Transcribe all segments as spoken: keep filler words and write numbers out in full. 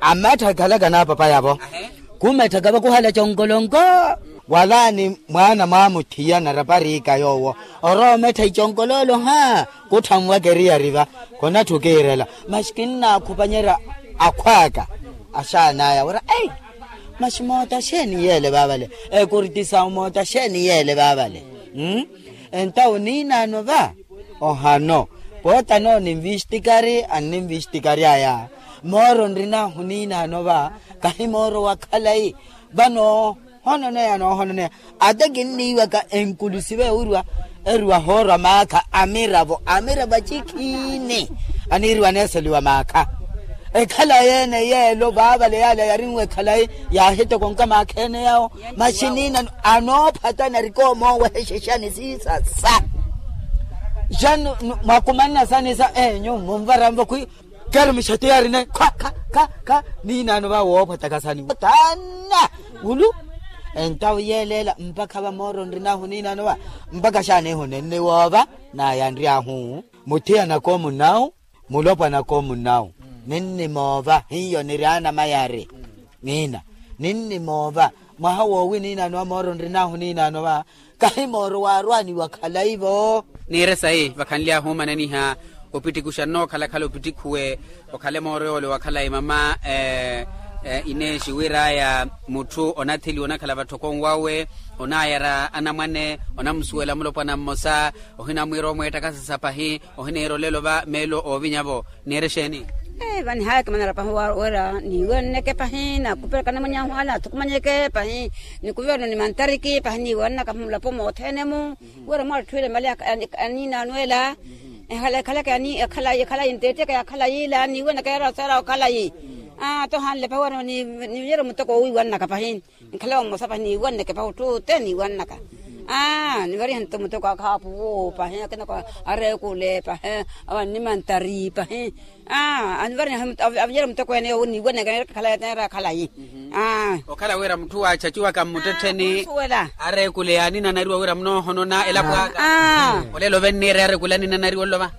Ammettha ekhalaka n'apapaya-vo. Kummetthaka vakuhala conkolonko. Walaani mwaana mwaamuthiya narapariika yoowo, orowa omettha iconkololo ha. Kutthanwaka eriyari va. Khunatthi okiirela. Masi kinnaakhupanyerya akhw'aka. Axaan'aya wira ei, masi moota xeeni yeele vaavale? Ekurti sawu moota xeeni yeele vaavale? Entawo niinaano va. Ohano. Poota no ninvistikari anninvistikary'aya. Mooro nrin'ahu niinaano va. Kahi mooro wa khalayi. Vano hononeya noohononeya. Ate kinniiwaka enkulusive ewiriwa eriwa hoorwa maakha amiravo amiravo acikhiini. Aniiriwa aneeseliwa maakha. Ekhalayi ene yeelo vaavale yale yarinwe ekhalayi. Yaahitokonka maakha ene yawo. Masi niinaano anoophatana arikoomoowehexexani siisasa. Xanu mwakumanna sani sa enyu munvaranvo khwi. Keeri muxati yaarina khwa kha kha kha. Niinaano va woophwatakasani taana. Wulu. Entawo yeeleela mpakha va mooro nrinahu niinaano va. Mpakha xaanihu ninniwoova. Naya nryahu. Muthiyanaka omunawu. Mulopwanaka omunawu. Ninnimoova hiyo niri anamayari. Niina. Ninnimoova. Mwaha woowi niinaano va mooro nrinahu niinaano va. Kahi mooro waarwaaniwa khalayi-vo. Niire sayi vakhanly'ahu omananiha. Opittiku xannookhala-khala opittikhuwe. Okhale mooro yoole wa khalayi mama. Ineexi wir'aya mutthu onatheliwa onakhala vatthokoni wawe. Onaayara anamwane onamusuwela mulopwana mmosa. Ohinamwiira omweettakasasa pahi. Ohiniira olelo va meelo oovinya-vo. Niire exeeni? Vanihaaya kimanara pahi wira niiwenneke pahi nakupelaka namwany'ahu ale athukumanyeke pahi. Nikuvereno nimantariki pahi niiwennaka mulapo mothene-mu. Wira mwatthuwele mali aniinaano ela. Ekhalaka ekhalayi ekhalayi ntetteke ya khalayi ila niiwennaka yaraseera okhalayi. Aa tohanle pahi wira niiwenneke pahi. Nkhala wa mmosa pahi niiwanneke pahi otthu ote niiwannaka. Aa nivariha nto muteko akhaapuwo pahi akinako areekule pahi. Awannimantari pahi. Aa anivariha avinyere muteko ene yowo niiwanneke neera khalayi. Aa okhala wira mutthu waachachuwaka mmuttettheni areekule yaaninanariwa wira munoohonona elapo aka. Olelo venniire areekule aninanariwa olova.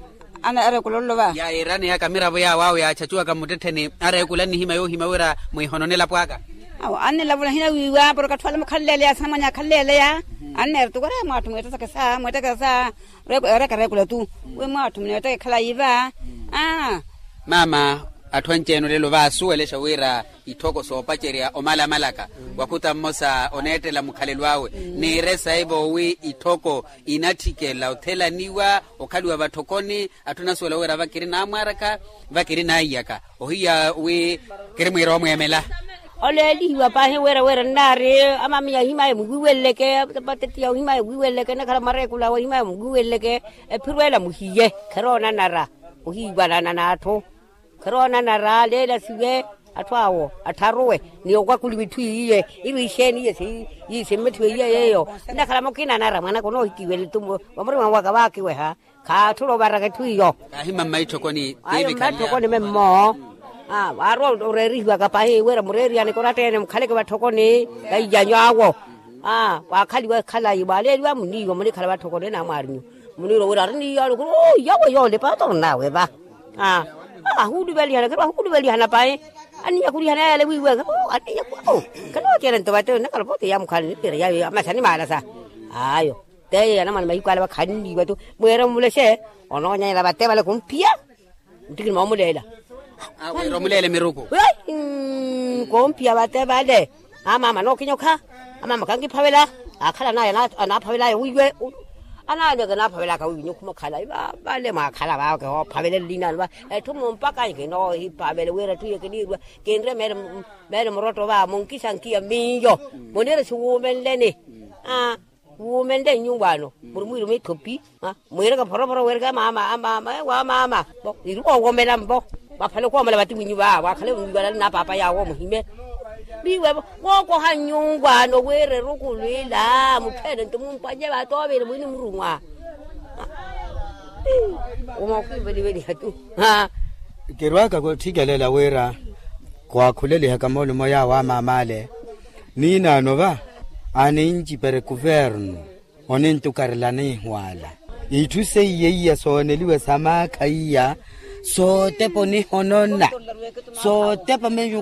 Ana areekula olova. Yaayiraneyaka miravo yaawo awo yaachachuwaka mmuttettheni areekula nnihimya yoohimya wira mwiihonone elapo aka. Awo annilavula hina wiiwa porke atthu ale mukhanleeleya asinamwanya akhanleeleya. Anneera tu wira mwaatthu mweettakesa mweettakesa. Ereka areekula tu wi mwaatthu muneettaka ekhalayi va. Aa mama, atthu anci-ene olelo vaasuwelexa wira itthoko soopacerya omalamalaka. Wakhuta mmosa oneettela mukhalelo awe. Niire sayi-vo wi itthoko inatthikela othelaniwa okhaliwa vatthokoni. Atthu anasuwela wira vakiri naamwaaraka vakiri naiyaka ohiya wi kiri mwiira omweemela. Oleelihiwa pahi wira wira nnaari amamiya ohimaya muwiiweleleke. Patetiya ohimaya muwiiweleleke nakhala mwareekula awe ohimaya muwiiweleleke. Ephiro ela muhiye khiroonanara ohiiwanana n'atthu. Khiroonanara leela siwe atthu awo attharuwe ni okwakuliwa itthu iye. Ivo ixeeni iye simmethiwe iye yeeyo. Nnakhala mukina anara mwanaka onoohitiwele tu vamurima waka vaakiweha. Khaatthula ovaraka etthu iyo. Kaahimamma itthokoni ayo mmatthokoni memmo. Waarwa oreerihiwaka pahi wira mureeriyane koratta-ene mukhaleke vatthokoni. Vaiyanyu awo. Aa waakhaliwa ekhalayi vaaleeliwa muniiwa munikhala vatthokoni namwaarinyu. Muniirwa wira ariniiya alukulu yawe yoole paata onnawe va. Aa ahuuluvelihana khiro ahuuluvelihana pahi. Aniiyakhulihana yale wiiweke aniiyakhulihana. Khiro ocele nto vate nnakhala pote yamukhala nipira yayo amasa nimaalasa. Ayo teyo yanamwane mahiku ale vakhanniiwa tu. Mweera omulexe onoonyanyela vate vale kumphiya. Ntikini moomuleela. Wira omuleele miruku. Koompiya vate vale. Amaama nookinyokha. Amaama kankiphavela. Akhala naye anaaphavelaya wiiwe. Anaaneke anaaphavelaka wiiwe nyukhuma khalayi vale mwaakhala vawe kihoophavele nlinaano va. Etthu mumpaka nkinoohiphavele wira etthu iyo kiniirwa. Kinre meele murotto va munkisankiya miyo. Muniire siwuumenleni. Wuumenle nnyuwaano muri mwiiruma ithopi. Mwiireke phoroporo weereke amaama amaama ewo amaama. Iri woowomela mpo. Vaphale okoomela vatiwinyu va waakhale mwiiwalale na paapa yaawo muhime. Viiwe-vo wookoha nnyuwaano wira eruku lwila mutthu ene nto mumpwanye vatoovele mwini murumwa. Omookiiveliveliha tu. Kirwaaka kutthikelela wira khwaakhulelihaka moolumo yaawo amaama ale. Niinaano va anincipere kuvernu onintukarela niihwaala. Itthu seiye iya sooneliwe sa maakha iya sootepa onihonona. Sootepa menyu.